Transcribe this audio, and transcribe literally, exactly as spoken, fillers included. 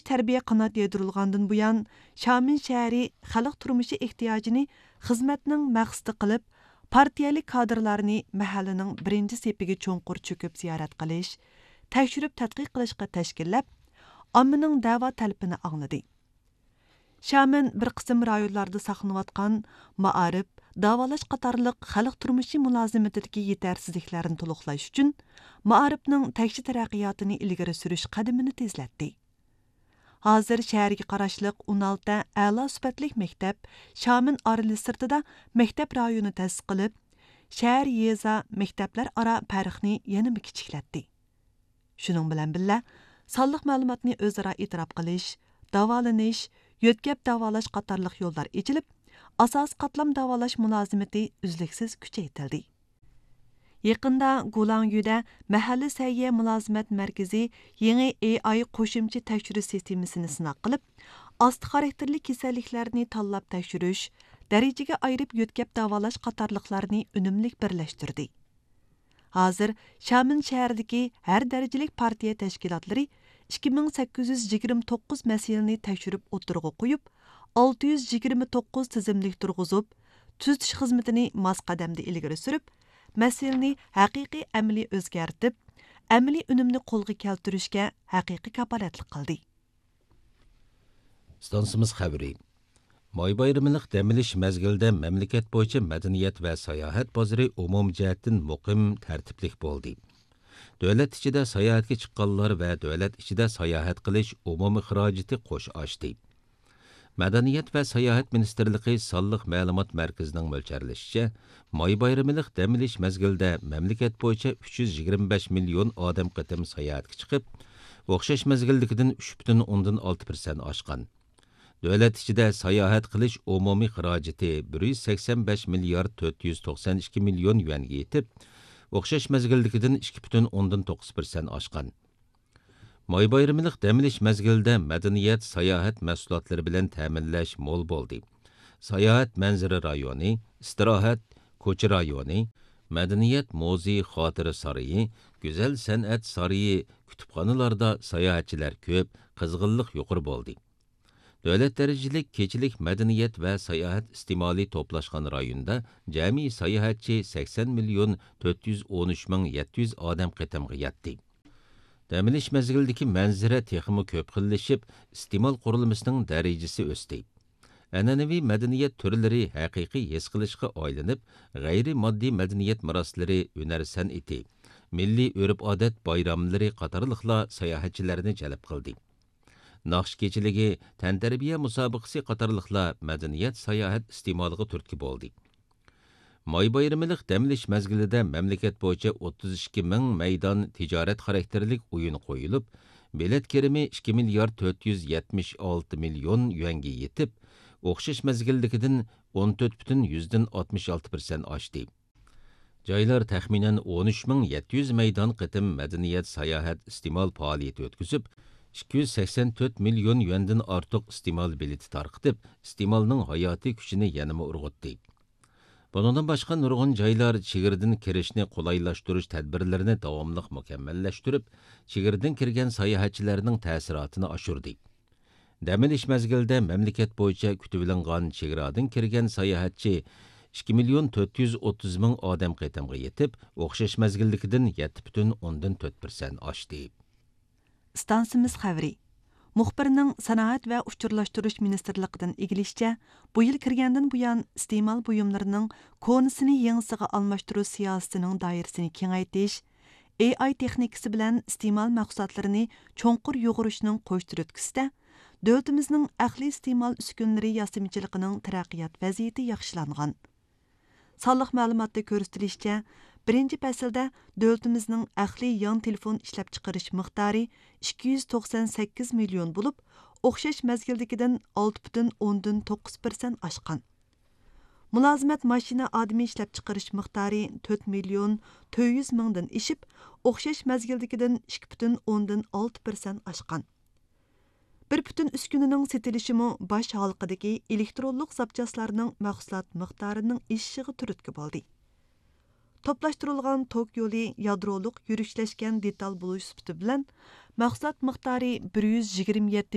تەربىيە قانات يايدۇرۇلغاندىن بۇيان، شامېن شەھىرى خەلق تۇرمۇشى ئېھتىياجىنى خىزمەتنىڭ مەقسىتى قىلىپ، پارتىيەلىك كادىرلارنى مەھەللىنىڭ بىرىنچى سېپىگە چوڭقۇر چۆكۈپ زىيارەت قىلىش، تەكشۈرۈپ تەتقىق قىلىشقا تەشكىللەپ، ئاممىنىڭ دەۋا تەلىپىنى ئاڭلىدى. شامېن بىر قىسىم رايونلاردا ساقلىنىۋاتقان مائارىپ، داۋالاش قاتارلىق خەلق تۇرمۇشى مۇلازىمىتىدىكى يېتەرسىزلىكلەرنى تولۇقلاش ئۈچۈن، مائارىپنىڭ تەكشى تەرەققىياتىنى ئىلگىرى سۈرۈش قەدىمىنى تېزلەتتى. ھازىر شەھەرگە قاراشلىق ئون ئالتە ئەلا سۈپەتلىك مەكتەپ شامېن ئارىلى سىرتىدا مەكتەپ رايونى تەسىس قىلىپ، شەھەر، يېزا، مەكتەپلەر ئارا پەرقنى يەنىمۇ كىچىكلەتتى. شۇنىڭ بىلەن بىللە، سانلىق مەلۇماتنى ئۆزئارا ئېتىراپ قىلىش، داۋالىنىش، يۆتكەپ داۋالاش قاتارلىق يوللار ئېچىلىپ، ئاساسىي قاتلام داۋالاش مۇلازىمىتى ئۈزلۈكسىز كۈچەيتىلدى. يېقىندا گۇلاڭيۈدە مەھەللە سەھىيە مۇلازىمەت مەركىزى يېڭى ئېي ئاي قوشۇمچە تەكشۈرۈش سىستېمىسىنى سىناق قىلىپ، ئاستا خاراكتېرلىك كېسەللىكلەرنى تاللاپ تەكشۈرۈش، دەرىجىگە ئايرىپ يۆتكەپ داۋالاش قاتارلىقلارنى ئۈنۈملۈك بىرلەشتۈردى. ھازىر شامېن شەھىرىدىكى ھەر دەرىجىلىك پارتىيە تەشكىلاتلىرى ئىككى مىڭ سەككىز يۈز يىگىرمە توققۇز مەسىلىنى تەكشۈرۈپ ئوتتۇرىغا قويۇپ، ئالتە يۈز يىگىرمە توققۇز تىزىملىك تۇرغۇزۇپ، تۈزىتىش خىزمىتىنى ماس قەدەمدە ئىلگىرى سۈرۈپ، مەسىلىنى ھەقىقىي ئەمەلىي ئۆزگەرتىپ، ئەمەلىي ئۈنۈمنى قولغا كەلتۈرۈشكە ھەقىقىي كاپالەتلىك قىلدى. ئىستانسىمىز خەۋىرى. ماي بايرىملىق دەم ئېلىش مەزگىلىدە مەملىكەت بويىچە مەدەنىيەت ۋە ساياھەت بازىرى ئومۇمىي جەھەتتىن مۇقىم، تەرتىپلىك بولدى. دۆلەت ئىچىدە ساياھەتكە چىققانلار ۋە دۆلەت ئىچىدە ساياھەت قىلىش ئومۇمىي خىراجىتى قوش ئاشتى. مەدەنىيەت ۋە ساياھەت مىنىستىرلىقى سانلىق مەلۇمات مەركىزىنىڭ مۆلچەرلىشىچە، ماي بايرىملىق دەم ئېلىش مەزگىلىدە مەملىكەت بويىچە ئۈچ يۈز يىگىرمە بەش مىليون ئادەم قېتىم ساياھەتكە چىقىپ، ئوخشاش مەزگىلدىكىدىن ئۈچ پۈتۈن ئوندىن ئالتە پىرسەنت ئاشقان. دۆلەت ئىچىدە ساياھەت قىلىش ئومۇمىي خىراجىتى بىر يۈز سەكسەن بەش مىليارد تۆت يۈز توقسان ئىككى مىليون يۈەنگە يېتىپ، ئوخشاش مەزگىلدىكىدىن ئىككى پۈتۈن ئوندىن توققۇز پىرسەنت ئاشقان. ماي بايرىملىق دەم ئېلىش مەزگىلىدە مەدەنىيەت، ساياھەت مەھسۇلاتلىرى بىلەن تەمىنلەش مول بولدى. ساياھەت مەنزىرە رايونى، ئىستىراھەت، كوچا رايونى، مەدەنىيەت مۇزېي، خاتىرە سارىيى، گۈزەل سەنئەت سارىيى، كۇتۇپخانىلاردا ساياھەتچىلەر كۆپ، قىزغىنلىق يۇقىرى بولدى. دۆلەت دەرىجىلىك كېچىلىك مەدەنىيەت ۋە ساياھەت ئىستېمالى توپلاشقان رايوندا جەمئىي ساياھەتچى سەكسەن مىليون تۆت يۈز ئون ئۈچ مىڭ يەتتە يۈز ئادەم قېتىمغا يەتتى. دەم ئېلىش مەزگىلىدىكى مەنزىرە تېخىمۇ كۆپ خىللىشىپ، ئىستېمال قۇرۇلمىسىنىڭ دەرىجىسى ئۆستى. ئەنئەنىۋى مەدەنىيەت تۈرلىرى ھەقىقىي ھېس قىلىشقا ئايلىنىپ، غەيرىي ماددىي مەدەنىيەت مىراسلىرى، ھۈنەر سەنئىتى، مىللىي ئۆرپ-ئادەت بايراملىرى قاتارلىقلار ساياھەتچىلەرنى جەلپ قىلدى. ناخشا كېچىلىكى، تەنتەربىيە مۇسابىقىسى قاتارلىقلار مەدەنىيەت ساياھەت ئىستېمالىغا تۈرتكە بولدى. ماي بايرىملىق دەم ئېلىش مەزگىلىدە مەملىكەت بويىچە ئوتتۇز ئىككى مىڭ مەيدان تىجارەت خاراكتېرلىك ئويۇن قويۇلۇپ، بېلەت كىرىمى ئىككى مىليارد تۆت يۈز يەتمىش ئالتە مىليون يۈەنگە يېتىپ، ئوخشاش مەزگىلدىكىدىن ئون تۆت پۈتۈن يۈزدىن ئاتمىش ئالتە پىرسەنت ئاشتى. جايلار تەخمىنەن ئون ئۈچ مىڭ يەتتە يۈز مەيدان قېتىم مەدەنىيەت ساياھەت ئىستېمال پائالىيىتى ئۆتكۈزۈپ، ئىككى يۈز سەكسەن تۆت مىليون يۈەندىن ئارتۇق ئىستېمال بېلىتى تارقىتىپ، ئىستېمالنىڭ ھاياتىي كۈچىنى يەنىمۇ ئۇرغۇتتى. بۇنىڭدىن باشقا، نۇرغۇن جايلار چېگرىدىن كىرىشنى قولايلاشتۇرۇش تەدبىرلىرىنى داۋاملىق مۇكەممەللەشتۈرۈپ، چېگرىدىن كىرگەن ساياھەتچىلەرنىڭ تەسىراتىنى ئاشۇردى. دەم ئېلىش مەزگىلىدە مەملىكەت بويىچە كۈتۈۋېلىنغان چېگرادىن كىرگەن ساياھەتچى ئىككى مىليون تۆت يۈز ئوتتۇز مىڭ ئادەم قېتىمغا يېتىپ، ئوخشاش مەزگىلدىكىدىن يەتتە پۈتۈن ئوندىن تۆت پىرسەنت ئاشتى. ئىستانسىمىز خەۋىرى. مۇخبىرنىڭ سانائەت ۋە ئۇچۇرلاشتۇرۇش مىنىستىرلىقىدىن ئىگىلىشىچە، بۇ يىل كىرگەندىن بۇيان، ئىستېمال بۇيۇملىرىنىڭ كونىسىنى يېڭىسىغا ئالماشتۇرۇش سىياسىتىنىڭ دائىرىسىنى كېڭەيتىش، ئېي ئاي تېخنىكىسى بىلەن ئىستېمال مەھسۇلاتلىرىنى چوڭقۇر يۇغۇرۇشنىڭ قوش تۈرتكىسىدە، دۆلىتىمىزنىڭ ئەقلىي ئىستېمال ئۈسكۈنىلىرى ياسىمىچىلىقىنىڭ تەرەققىيات ۋەزىيىتى ياخشىلانغان. سانلىق مەلۇماتتا كۆرسىتىلىشىچە، بىرىنچى پەسىلدە دۆلىتىمىزنىڭ ئەقلىي يان تېلېفون ئىشلەپچىقىرىش مىقدارى ئىككى يۈز توقسان سەككىز مىليون بولۇپ، ئوخشاش مەزگىلدىكىدىن ئالتە پۈتۈن ئوندىن توققۇز پىرسەنت ئاشقان. مۇلازىمەت ماشىنا ئادىمى ئىشلەپچىقىرىش مىقدارى تۆت مىليون تۆت يۈز مىڭدىن ئېشىپ، ئوخشاش مەزگىلدىكىدىن ئىككى پۈتۈن ئوندىن ئالتە پىرسەنت ئاشقان. بىر پۈتۈن ئۈسكۈنىنىڭ سېتىلىشىمۇ باش ھالقىدىكى ئېلېكترونلۇق زاپچاسلارنىڭ مەھسۇلات مىقدارىنىڭ ئېشىشىغا تۈرتكە بولدى. توپلاشتۇرۇلغان توك يولى يادرولۇق يۈرۈشلەشكەن دېتال بولۇش سۈپىتى بىلەن، مەھسۇلات مىقدارى بىر يۈز يىگىرمە يەتتە